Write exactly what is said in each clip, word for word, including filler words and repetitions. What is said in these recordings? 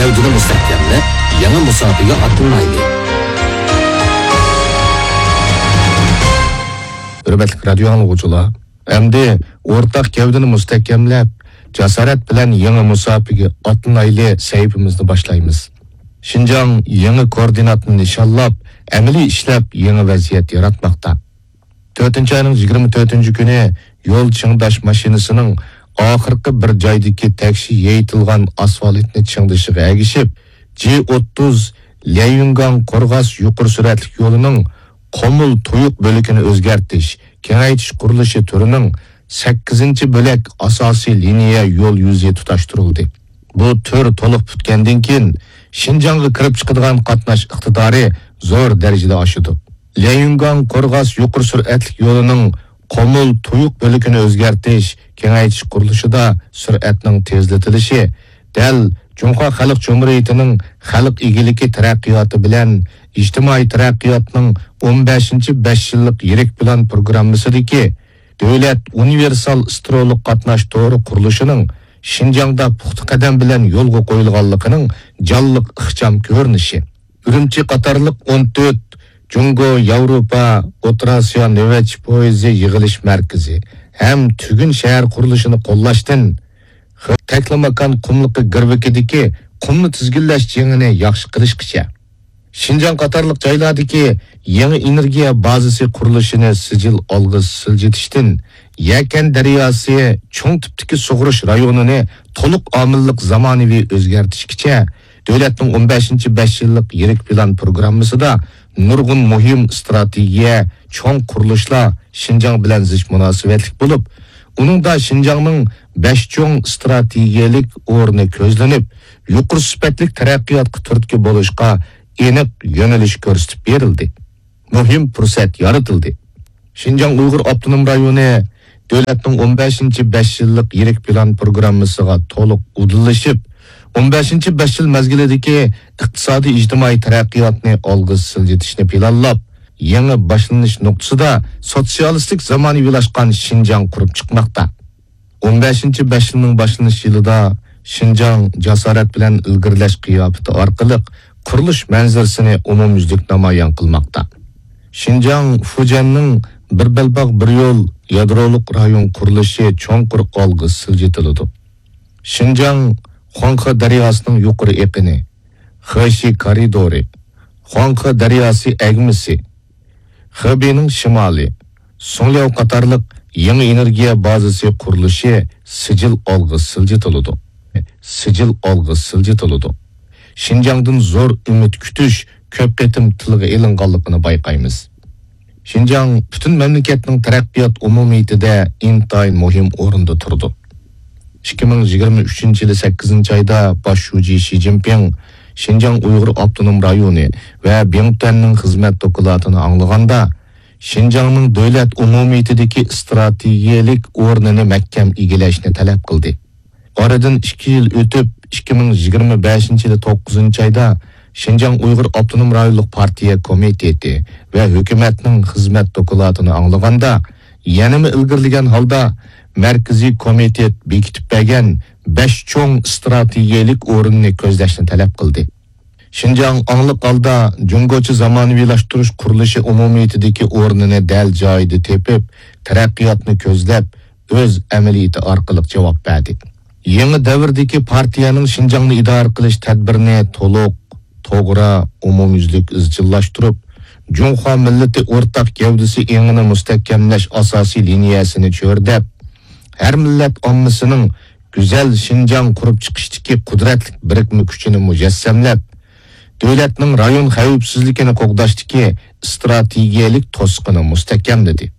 گەۋدىنى مۇستەھكەملەپ، يېڭى مۇساپىگە ئاتلىنايلى. ھۆرمەتلىك رادىيو ئاڭلىغۇچىلار، ئەمدى ئورتاق گەۋدىنى مۇستەھكەملەپ، جاسارەت بىلەن يېڭى مۇساپىگە ئاتلىنايلى سەھىپىمىزنى باشلايمىز. شىنجاڭ يېڭى كوئوردىناتنى نىشانلاپ، ئەمەلىي ئىشلەپ يېڭى ۋەزىيەت ياراتماقتا. تۆتىنچى ئاينىڭ يىگىرمە تۆتىنچى كۈنى يول چىڭداش ماشىنىسىنىڭ ئاخىرقى بىر جايدىكى تەكشى يېيىتىلغان ئاسفالتنى چىڭدىشىغا ئەگىشىپ، جى ئوتتۇز ليەيۈنگاڭ قورغاس يۇقىرى سۈرئەتلىك يولىنىڭ قومۇل تۇيۇق بۆلىكىنى ئۆزگەرتىش، كېڭەيتىش قۇرۇلۇشى تۈرىنىڭ سەككىزىنچى بۆلەك ئاساسىي لىنىيە يول يۈزى تۇتاشتۇرۇلدى. بۇ تۈر تولۇق پۈتكەندىن كېيىن، شىنجاڭغا كىرىپ چىقىدىغان قاتناش ئىقتىدارى زور دەرىجىدە ئاشىدۇ. ليەيۈنگاڭ قورغاس يۇقىرى سۈرئەتلىك يولىنىڭ قومۇل تۇيۇق بۆلىكىنى ئۆزگەرتىش، كېڭەيتىش قۇرۇلۇشىدا سۈرئەتنىڭ تېزلىتىلىشى دەل جۇڭخۇا خەلق جۇمھۇرىيىتىنىڭ خەلق ئىگىلىكى تەرەققىياتى بىلەن ئىجتىمائىي تەرەققىياتنىڭ ئون بەشىنچى بەش يىللىق يىرىك پىلان پروگراممىسىدىكى دۆلەت ئۇنىۋېرسال سترولۇق قاتناش تورى قۇرۇلۇشىنىڭ شىنجاڭدا پۇختا قەدەم بىلەن يولغا قويۇلغانلىقىنىڭ جانلىق ئىخچام كۆرۈنۈشى. ئۈرۈمچى قاتارلىق ئون تۆت جۇڭگو، ياۋروپا، ئوتتۇرا ئاسىيا نۆۋەتچى پويىزى يىغىلىش مەركىزى ھەم تۈگۈن شەھەر قۇرۇلۇشىنى قوللاشتىن خ-، تەكلىماكان قۇملۇقى گىرۋىكىدىكى قۇمنى تىزگىنلەش جېڭىنى ياخشى قىلىشقىچە، شىنجاڭ قاتارلىق جايلاردىكى يېڭى ئېنېرگىيە بازىسى قۇرۇلۇشىنى سىجىل ئالغا سىلجىتىشتىن يەكەن دەرياسى چوڭ تىپتىكى سۇغىرىش رايونىنى تولۇق ئامىللىق زامانىۋى ئۆزگەرتىشكىچە، دۆلەتنىڭ ئون بەشىنچى بەش يىللىق يىرىك پىلان پروگراممىسىدا نۇرغۇن مۇھىم ئىستراتېگىيە، چوڭ قۇرۇلۇشلار شىنجاڭ بىلەن زىچ مۇناسىۋەتلىك بولۇپ، ئۇنىڭدا شىنجاڭنىڭ بەش چوڭ ئىستراتېگىيەلىك ئورنى كۆزلىنىپ، يۇقىرى سۈپەتلىك تەرەققىياتقا تۈرتكە بولۇشقا ئېنىق يۆنىلىش كۆرسىتىپ بېرىلدى. مۇھىم پۇرسەت يارىتىلدى. شىنجاڭ ئۇيغۇر ئاپتونوم رايونى دۆلەتنىڭ ئون بەشىنچى بەش يىللىق يىرىك پىلان پروگراممىسىغا تولۇق ئۇدۇللىشىپ، ئون بەشىنچى بەش يىل مەزگىلىدىكى ئىقتىسادىي ئىجتىمائىي تەرەققىياتنى ئالغا سىلجىتىشنى پىلانلاپ، يېڭى باشلىنىش نۇقتىسىدا سوتسىيالىستىك زامانىۋىلاشقان شىنجاڭ قۇرۇپ چىقماقتا. ئون بەشىنچى بەش يىلنىڭ باشلىنىش يىلىدا شىنجاڭ جاسارەت بىلەن ئىلگىرىلەش قىياپىتى ئارقىلىق قۇرۇلۇش مەنزىرىسىنى ئومۇميۈزلۈك نامايان قىلماقتا. شىنجاڭ فۇجيەننىڭ بىر بەلباغ، بىر يول يادرولۇق رايون قۇرۇلۇشى چوڭقۇر ئالغا سىلجىتىلىدۇ. شىنجاڭ خۇاڭخې دەرياسىنىڭ يۇقىرى ئېقىنى، خېشى كارىدورى، خۇاڭخې دەرياسى ئەگمىسى، خېبېينىڭ شىمالى، سۇڭلياۋ قاتارلىق يېڭى ئېنېرگىيە بازىسى قۇرۇلۇشى سىجىل ئالغا سىلجىتىلىدۇ. سىجىل ئالغا سىلجىتىلىدۇ. شىنجاڭدىن زور ئۈمىد كۈتۈش كۆپ قېتىم تىلغا ئېلىنغانلىقىنى بايقايمىز. شىنجاڭ پۈتۈن مەملىكەتنىڭ تەرەققىيات ئومۇمىيىتىدە ئىنتايىن مۇھىم ئورۇندا تۇرىدۇ. ئىككى مىڭ يىگىرمە ئۈچىنچى يىلى سەككىزىنچى ئايدا باش شۇجى شى جىنپىڭ شىنجاڭ ئۇيغۇر ئاپتونوم رايونى ۋە بىڭتۈەننىڭ خىزمەت دوكلاتىنى ئاڭلىغاندا، شىنجاڭنىڭ دۆلەت ئومۇمىيىتىدىكى ئىستراتېگىيەلىك ئورنىنى مەھكەم ئىگىلەشنى تەلەپ قىلدى. ئارىدىن ئىككى يىل ئۆتۈپ، ئىككى مىڭ يىگىرمە بەشىنچى يىلى توققۇزىنچى ئايدا شىنجاڭ ئۇيغۇر ئاپتونوم رايونلۇق پارتىيە كومىتېتى ۋە ھۆكۈمەتنىڭ خىزمەت دوكلاتىنى ئاڭلىغاندا، يەنىمۇ ئىلگىرىلىگەن ھالدا مەركىزىي كومىتېت بېكىتىپ بەرگەن بەش چوڭ ئىستراتېگىيەلىك ئورۇننى كۆزلەشنى تەلەپ قىلدى. شىنجاڭ ئاڭلىق ھالدا جۇڭگوچە زامانىۋىلاشتۇرۇش قۇرۇلۇشى ئومۇمىيىتىدىكى ئورنىنى دەل جايىدا تېپىپ، تەرەققىياتنى كۆزلەپ، ئۆز ئەمەلىيىتى ئارقىلىق جاۋاب بەردى. يېڭى دەۋردىكى پارتىيەنىڭ شىنجاڭنى ئىدارە قىلىش تەدبىرىنى تولۇق، توغرا، ئومۇميۈزلۈك ئىزچىللاشتۇرۇپ، جۇڭخۇا مىللىتى ئورتاق گەۋدىسى ئېڭىنى مۇستەھكەملەش ئاساسىي لىنىيەسىنى چۆرىدەپ، ھەر مىللەت ئاممىسىنىڭ گۈزەل شىنجاڭ قۇرۇپ چىقىشتىكى قۇدرەتلىك بىرىكمە كۈچىنى مۇجەسسەملەپ، دۆلەتنىڭ رايون خەۋپسىزلىكىنى قوغداشتىكى ئىستراتېگىيەلىك توسۇقىنى مۇستەھكەملىدى.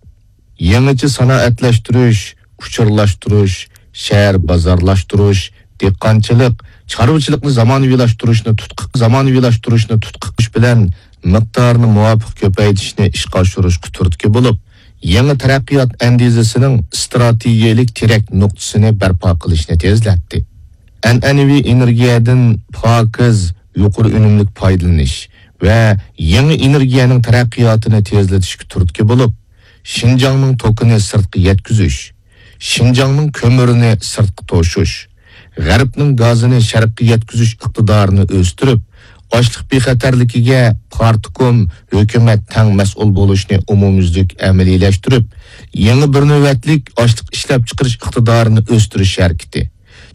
يېڭىچە سانائەتلەشتۈرۈش، ئۇچۇرلاشتۇرۇش، شەھەر بازارلاشتۇرۇش، دېھقانچىلىق، چارۋىچىلىقنى زامانىۋىلاشتۇرۇشنى تۇتقا، زامانىۋىلاشتۇرۇشنى تۇتقا قىلىش بىلەن مىقدارىنى مۇۋاپىق كۆپەيتىشنى ئىشقا ئاشۇرۇشقا تۈرتكە بولۇپ، يېڭى تەرەققىيات ئەندىزىسىنىڭ ئىستراتېگىيەلىك تىرەك نۇقتىسىنى بەرپا قىلىشنى تېزلەتتى. ئەنئەنىۋى ئېنېرگىيەدىن پاكىز، يۇقىرى ئۈنۈملۈك پايدىلىنىش ۋە يېڭى ئېنېرگىيەنىڭ تەرەققىياتىنى تېزلىتىشكە تۈرتكە بولۇپ، شىنجاڭنىڭ توكىنى سىرتقا يەتكۈزۈش، شىنجاڭنىڭ كۆمۈرىنى سىرتقا توشۇش، غەربنىڭ گازىنى شەرققە يەتكۈزۈش ئىقتىدارىنى ئۆستۈرۈپ، ئاشلىق بىخەتەرلىكىگە پارتكوم، ھۆكۈمەت تەڭ مەسئۇل بولۇشنى ئومۇميۈزلۈك ئەمەلىيلەشتۈرۈپ، يېڭى بىر نۆۋەتلىك ئاشلىق ئىشلەپچىقىرىش ئىقتىدارىنى ئۆستۈرۈش ھەرىكىتى،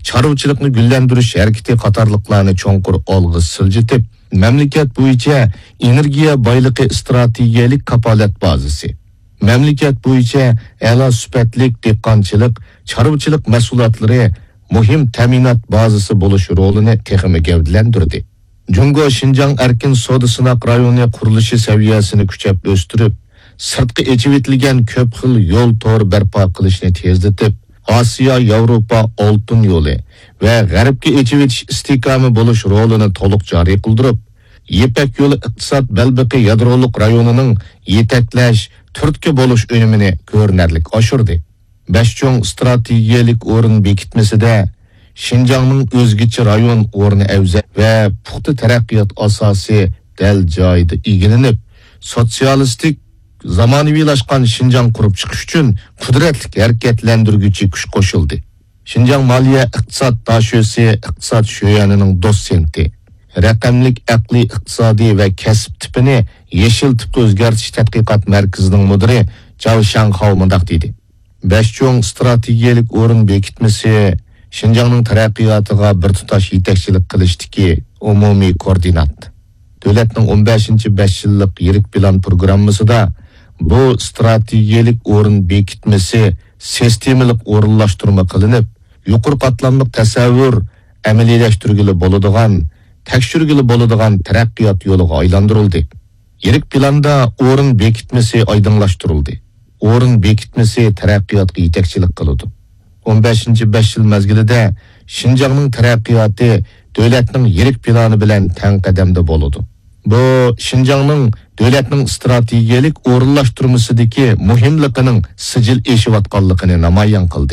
چارۋىچىلىقنى گۈللەندۈرۈش ھەرىكىتى قاتارلىقلارنى چوڭقۇر ئالغا سىلجىتىپ، مەملىكەت بويىچە ئېنېرگىيە بايلىقى ئىستراتېگىيەلىك كاپالەت بازىسى، مەملىكەت بويىچە ئەلا سۈپەتلىك دېھقانچىلىق، چارۋىچىلىق مەھسۇلاتلىرى مۇھىم تەمىنات بازىسى بولۇش رولىنى تېخىمۇ گەۋدىلەندۈردى. جۇڭگو شىنجاڭ ئەركىن سودا سىناق رايونى قۇرۇلۇشى سەۋىيەسىنى كۈچەپ ئۆستۈرۈپ، سىرتقا ئېچىۋېتىلگەن كۆپ خىل يول تورى بەرپا قىلىشنى تېزلىتىپ، ئاسىيا ياۋروپا ئالتۇن يولى ۋە غەربكە ئېچىۋېتىش ئىستىھكامى بولۇش رولىنى تولۇق جارى قىلدۇرۇپ، يىپەك يولى ئىقتىساد بەلبېقى يادرولۇق رايونىنىڭ يېتەكلەش، تۈرتكە بولۇش ئۈنۈمىنى كۆرۈنەرلىك ئاشۇردى. بەش چوڭ ئىستراتېگىيەلىك ئورۇن بېكىتمىسىدە شىنجاڭنىڭ ئۆزگىچە رايون ئورنى ئەۋزەل ۋە پۇختا تەرەققىيات ئاساسى دەل جايىدا ئىگىلىنىپ، سوتسىيالىستىك زامانىۋىلاشقان شىنجاڭ قۇرۇپ چىقىش ئۈچۈن قۇدرەتلىك ھەرىكەتلەندۈرگۈچى كۈچ قوشۇلدى. شىنجاڭ مالىيە ئىقتىساد داشۆسى ئىقتىساد شۆيەنىنىڭ دوتسېنتى، رەقەملىك ئەقلىي ئىقتىسادىي ۋە كەسىپ تىپىنى يېشىل تىپقا ئۆزگەرتىش تەتقىقات مەركىزىنىڭ مۇدىرى جاۋ شاڭخاۋ مۇنداق دېدى: بەش چوڭ ئىستراتېگىيەلىك ئورۇن بېكىتمىسى شىنجاڭنىڭ تەرەققىياتىغا بىر تۇتاش يېتەكچىلىك قىلىشتىكى ئومۇمىي كوئوردىنات. دۆلەتنىڭ ئون بەشىنچى بەش يىللىق يىرىك پىلان پروگراممىسىدا بۇ ئىستراتېگىيەلىك ئورۇن بېكىتمىسى سىستېمىلىق ئورۇنلاشتۇرما قىلىنىپ، يۇقىرى قاتلاملىق تەسەۋۋۇر ئەمەلىيلەشتۈرگىلى بولىدىغان، تەكشۈرگىلى بولىدىغان تەرەققىيات يولىغا ئايلاندۇرۇلدى. يىرىك پىلاندا ئورۇن بېكىتمىسى ئايدىڭلاشتۇرۇلدى. ئورۇن بېكىتمىسى تەرەققىياتقا يېتەكچىلىك قىلىدۇ. ئون بەشىنچى بەش يىل مەزگىلىدە شىنجاڭنىڭ تەرەققىياتى دۆلەتنىڭ يىرىك پىلانى بىلەن تەڭ قەدەمدە بولىدۇ. بۇ شىنجاڭنىڭ دۆلەتنىڭ ئىستراتېگىيەلىك ئورۇنلاشتۇرمىسىدىكى مۇھىملىقىنىڭ سىجىل ئېشىۋاتقانلىقىنى نامايان قىلدى.